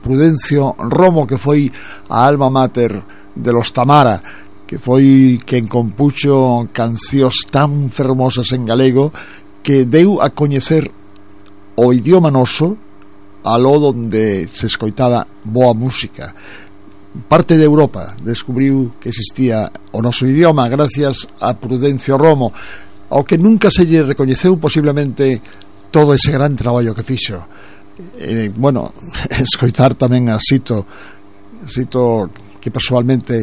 Prudencio Romo, que foi a alma mater de los Tamara, que foi quen compuxo cancións tan fermosas en galego que deu a coñecer o idioma noso aló donde se escoitaba boa música. Parte de Europa descubriu que existía o noso idioma gracias a Prudencio Romo, ao que nunca se lle recoñeceu posiblemente todo ese gran traballo que fixo. Bueno, escoitar tamén a Sito, que persoalmente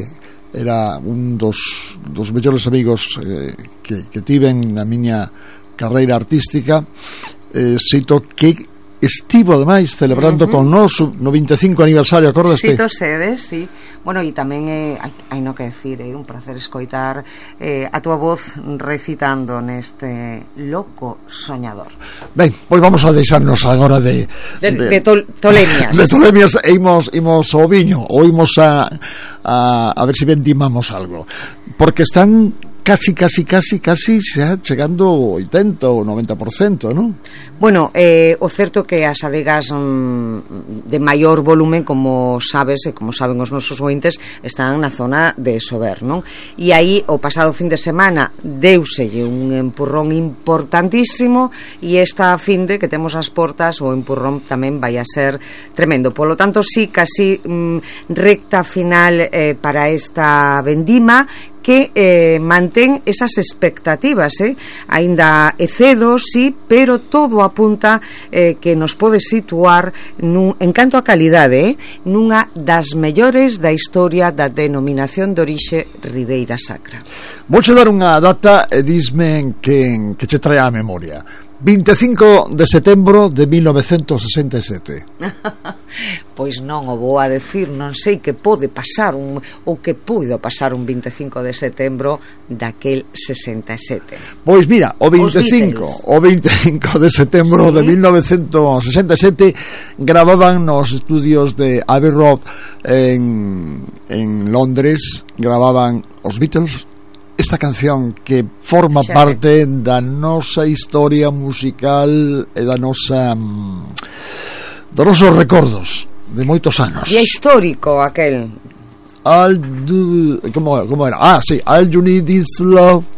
era un dos mellores amigos que tiven na miña carreira artística. Sito, que estivo ademais celebrando con nós no 25 aniversario, acordaste? Sito Sedes, sí. Bueno, e tamén hai no que decir, un placer escoitar a túa voz recitando neste Loco Soñador. Ben, pois vamos a deixarnos agora de tolemias. De tolemias, e imos ao viño, ou imos a ver se vendimamos algo, porque están casi xa chegando ao 80 ou 90%, non? Bueno, o certo que as adegas de maior volumen, como sabes e como saben os nosos ointes, están na zona de Sober, non? E aí o pasado fin de semana deuselle un empurrón importantísimo, e esta finde que temos as portas, o empurrón tamén vai a ser tremendo. Polo tanto, sí, casi recta final para esta vendima, que mantén esas expectativas, aínda é cedo, sí, pero todo apunta que nos pode situar en canto a calidade, nunha das mellores da historia da denominación de orixe Ribeira Sacra. Vouche dar unha data e disme que che trae á memoria. 25 de setembro de 1967. Pois non o vou a decir, non sei que pode pasar ou que puido pasar un 25 de setembro daquel 67. Pois mira, o 25 de setembro de 1967 gravaban nos estudios de Abbey Road en Londres, gravaban os Beatles esta canción que forma parte da nosa historia musical e dos nosos recordos de moitos anos. E é histórico aquel. Como era? Sí, All You Need Is Love.